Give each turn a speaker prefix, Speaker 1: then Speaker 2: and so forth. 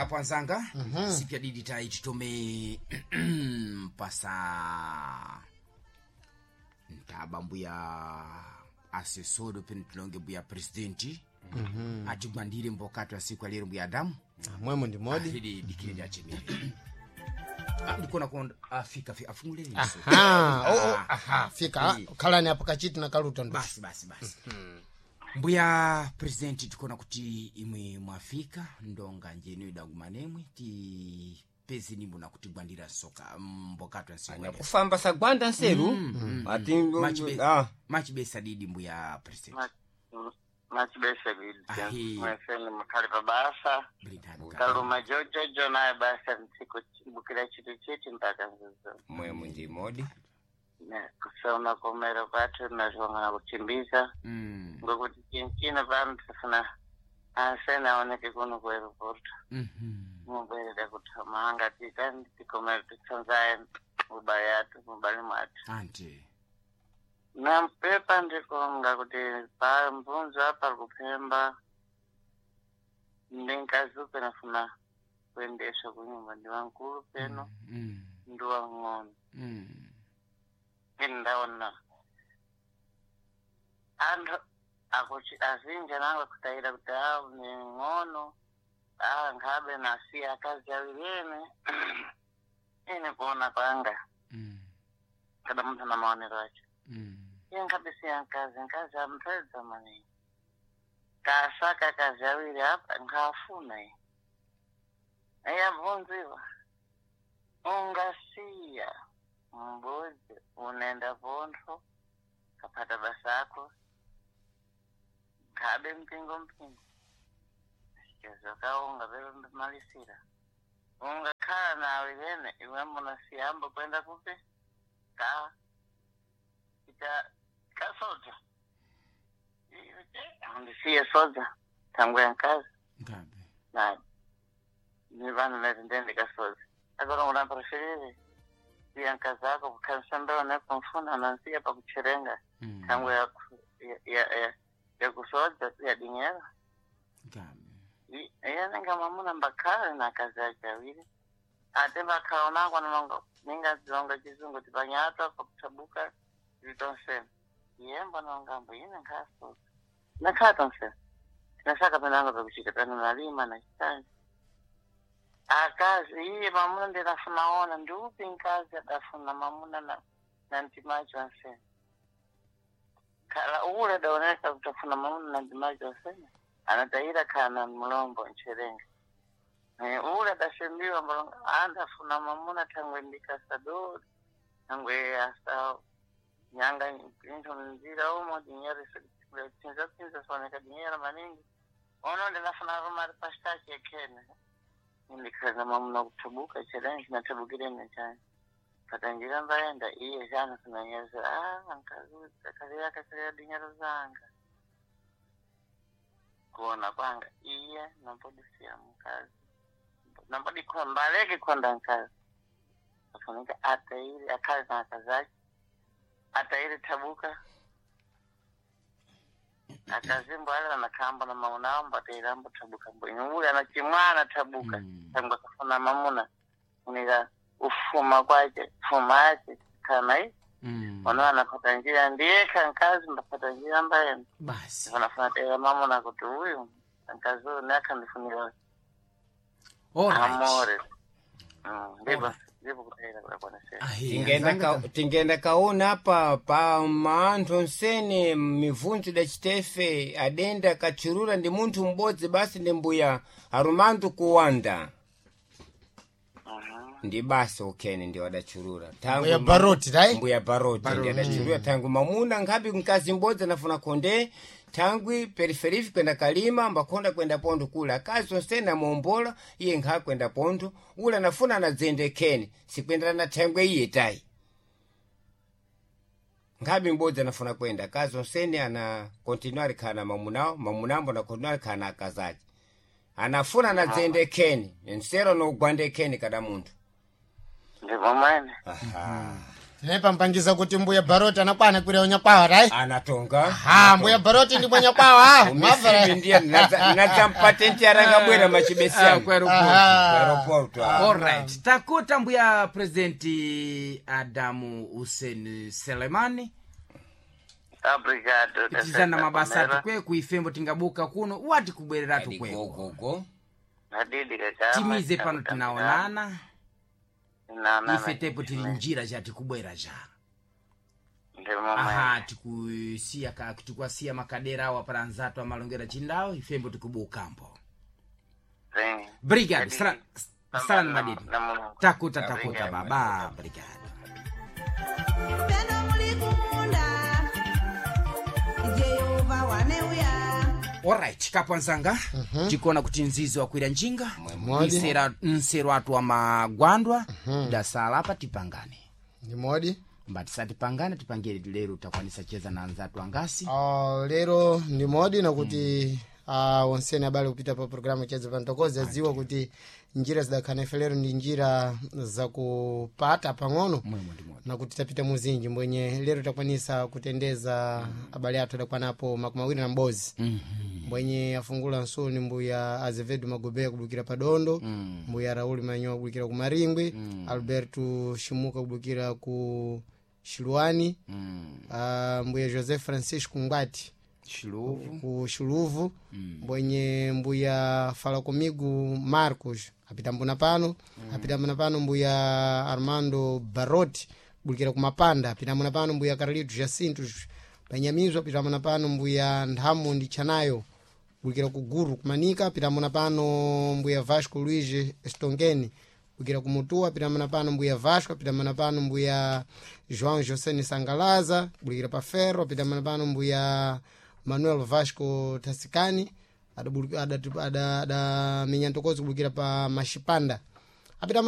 Speaker 1: Apo anzanga, sipya didi tai titome pasa ntaba mbuya asesodo pene tilonge mbuya presidenti atigwandire mbokatu ya siku ya lero mbuya Adamu.
Speaker 2: Mwemo ndi modi.
Speaker 1: Ahidi dikire lyachemere. Ah, ndikona konda afika afunguleni mso.
Speaker 2: Aha, oh, oh, aha, fika
Speaker 1: Eh.
Speaker 2: khalani apo kachiti na kaluta ndo.
Speaker 1: Basi basi basi. Mbuya presidenti, tikona kuti imwe mwafika ndonga njenu idagumanemwe tipeze nimbo na kutigwandira soka mbokatu ya siku ya lero.
Speaker 3: Anyakufamba sagwanda nseru ati
Speaker 1: Machibesa didi mbuya presidenti.
Speaker 4: Machibesa didi.
Speaker 1: Ahi.
Speaker 4: Mweseni mukhali pa basa.
Speaker 1: Britano ka.
Speaker 4: Kaluma jojojo naye basa mtsiku bukira chitu chiti mpaka nzuzo.
Speaker 3: Mwemo ndi modi.
Speaker 4: Ne kusoma kumero kwathu nazvongana kuchimbiza. Ngokuti chinchino pano tifuna asene aoneke kuno ku airport. Mubwerera kuthamanga titani tikomere titsanzaye mubali yathu mubali mwathu.
Speaker 1: Ante.
Speaker 4: Nampepa ndikonga kuti pa mbunzo apa kuphemba ndinkazupe nafuna kuendeswa kunyumba ndi wankulu peno ndi wang'ono. Ine ndaona anthu akuti azinja nango kutayira kuti awu ni ng'ono ah nkhabe nasiya akazi awiri ene ine kuona kwanga kada munthu na maonero acho. Iye nkhabe siya nkazi nkazi amupedza maningi kasaka akazi awiri apa nkhafuna iye iye abvunziwa ungasiya mbudzi unaenda pontho kapata basa ako nkhabe mpingo mpingo chizokaunga pepemalisira ungakhala nawe yene iwe munasiyamba kwenda kupi ka ita kasoja andisiye soja tangu yankazi
Speaker 1: Ngabe.
Speaker 4: na ni vanhu leti ndende kasoja agora unampreferive siya nkazi ako kukhanisambela nekumfuna nansiya pakucherenga tangu yakusoja yadinyera.
Speaker 1: Ngabe.
Speaker 4: Iye ninga mamuna mbakhale na akazi ake awiri ate mbakhala unango nongo ninga zilonga chizungu tipanyatwa pakuthabuka zitonsena iye mbonongambo ine nkhasoza nakhala tonsena tinasaka penango pakuchita pano nalima nachitani akazi iye mamuna ndinafuna ona ndiupi nkazi adafuna mamuna na mtimacho ansena khala ule adaoneka kutafuna mamuna na mtimacho ansena anataira kana mulombo ncherenga. Ule adasembiwa mbolonga andafuna mamuna thangwe ndikasadori thangwe asa nyanga intho mnzira umo dinyero tsinza tsinza soneka dinyero maningi ono ndinafuna rumari pastaki ekhene indikhala mamuna kuthabuka cherenga chinathabukirene chani patanjira mbaenda iye chana sinanyeza ah nkazuza kalea kakalea dinyero zanga kuona kwanga iye nambodisiya mkazi nambodi mbaleke konda nkazi afunika atairi akhale na akazi ake atairi thabuka akazimbo ale anakhamba na maunambo atairambo thabuka mbo ule anachimwana thabuka tangu akafuna mamuna unika ufuma kwache fuma ache kana i ono anapata njira ndiye kankazi mbapata njira mbayena
Speaker 1: Basi.
Speaker 4: anafuna tera mamuna kuti uyu nkazi uyu neakhandifunira
Speaker 1: Alright.
Speaker 4: amore. Ndipo ndipo kutayira kudakwanasera.
Speaker 1: Ahi,
Speaker 3: Tingenda
Speaker 1: anzanga
Speaker 3: tingenda kaona apa pa maanthu onsene mivunzo dacitefe adenda kachurura ndi munthu m'bodzi basi ndi mbuya arumandu kuwanda ndi basi ukhene ndi wadachurura
Speaker 2: Mbuya Baroti, right?
Speaker 3: Mbuya Baroti ndi adachurura thangu mamuna nkhapi mkazi m'bodzi anafuna khonde thangwi periferifi kwenda kalima mbakhonda kwenda pontho kula akazi onsene amuombola iye nkha kwenda pontho ula anafuna anadzende khene sikwendera na thangwe iye tayi nkhabi m'bodzi anafuna kwenda akazi onsene ana kontinua alikhala na mamunawo mamunambo ana kontinua alikhala na akazi ace anafuna anadzende khene nsero nogwande khene kada munthu.
Speaker 4: Ndipo mwene
Speaker 3: Aha.
Speaker 2: Tinepampangiza kuti mbuya Baroti anakwana kwira unyakwawa tai.
Speaker 3: Anatonga.
Speaker 2: Ha, mbuya Baroti ndi mwanyakwawa.
Speaker 3: Umisipi ndiye nadzampatenti arangabwera machibesi
Speaker 1: Ah,
Speaker 3: yangu.
Speaker 1: ku aeroporto.
Speaker 2: Aha.
Speaker 3: Aeroporto, ah.
Speaker 1: Alright, takuta mbuya presidenti Adamu Hussein Selemani.
Speaker 4: Obrigado.
Speaker 1: Pitizana mabasa atukweku ifembo tingabuka kuno wati kubwereratu kweko.
Speaker 3: Gogogo.
Speaker 4: Hadidi kakama.
Speaker 1: Timize pano tinaonana.
Speaker 4: Tinaonana.
Speaker 1: Ife tepo tili njira ja tikubwera ja.
Speaker 4: Ndimo
Speaker 1: Aha, tikusiya ka tikuasiya makadera awo para anzatu amalongera chindawo ifembo tikubukambo.
Speaker 4: Sim.
Speaker 1: Brigado,
Speaker 4: Hadidi.
Speaker 1: sala sala madidi.
Speaker 4: Na Mulungu.
Speaker 1: Takuta takuta baba, brigado.
Speaker 5: Pendo mulikunda Jehova waneuya.
Speaker 1: Alright, kapwanzanga tikuona kuti nzizi wakwira njinga
Speaker 2: Modi.
Speaker 1: Nsero atu wa magwandwa dasala apa tipangane
Speaker 2: Ndi modi.
Speaker 1: mbati satipangane tipangire lero takwanisa cheza na anzatu angasi.
Speaker 2: Ah, lero ndi modi nakuti onseni abale kupita pa programu chedza pantokozi adziwa kuti njira zidakhana ife lero ndi njira zakupata pang'ono
Speaker 1: Mwemo ndi modi.
Speaker 2: nakuti tapita muzinji mbwenye lero takwanisa kutendeza abale athu adakwanapo 21 mbwenye afungula nsoni mbuya Azevedo Magobeya kubukira padondo, mbuya Raul Manyowa kubukira ku Maringwi, Alberto Shimuka kubukira ku Shiluani, mbuya José Francisco Ngwati
Speaker 1: Chiluvu.
Speaker 2: ku Xuluvu, mbwenye mbuya fala comigo Marcos apitambuna pano, apitambuna pano mbuya Armando Baroti kubulikira ku Mapanda, apitambuna pano mbuya Carlito Jacinto Panyamizo, apitambuna pano mbuya Nthamu ndi Chanayo kubulikira ku Guru kumanika, apitambuna pano mbuya Vasco Luiz Stongeni kubulikira ku Mutua, apitambuna pano mbuya Vasco, apitambuna pano mbuya João José Sangalaza kubulikira pa Ferro, apitambuna pano mbuya Manuel Vasco Tasikani adamenya ntokozi kubulikira pa Mashipanda, apitambuna.